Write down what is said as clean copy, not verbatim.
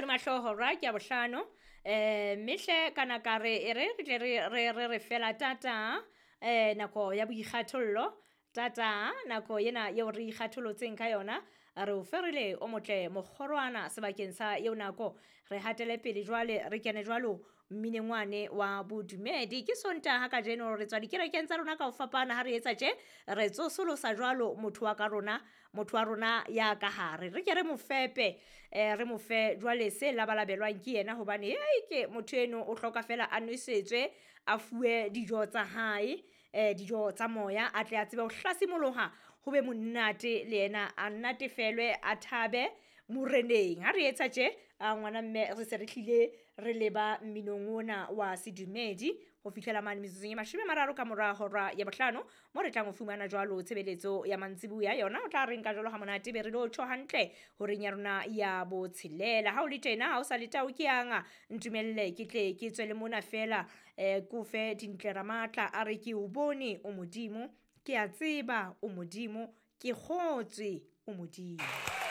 Mahloho ra ke ya bohlano. Mme hle kana ka re e re re tle re fela tata, nako ya boikgathollo tata, nako ena eo re ikgatholotseng ka yona, re o ferile o motle mokgorwana sebakeng sa eo nako. Re hatele pele jwale, re kene jwalo mminengwane wa bodumedi. Ke Sontaha kajeno, re tswa dikerekeng tsa rona ka ho fapana. Ha re etsa tje, re tsosolosa jwalo motho wa ka rona, motho wa rona ya ka hare, re ke re mo fepe, re mo fe jwale se labalabelwang ke yena, hobane hei, ke motho eno o hloka fela a nwesetswe, a fuwe dijo tsa hae, dijo tsa moya, a tle a tsebe ho hlasimoloha, ho be monate le yena, a natefelwe, a thabe moreneng. Ha re etsa tje, a ngwana mme, re se re hlile re leba mminong ona wa sedumedi ho fihlela mane metsotsong e 30 ka mora hora ya bohlano, mo re tlang ho fumana jwalo tshebeletso ya mantsibuya. Yona o tla reng ka jwalo ha monate, be re lo tjho hantle horeng ya rona ya botshelela. Ha o le tjena, ha o sa le tao ke yang ntumelle ke tle ke tswe le mona fela, ko fe Dintle Ramatla a re ke o bone o Modimo, ke a tseba o Modimo, ke kgotswe o Modimo.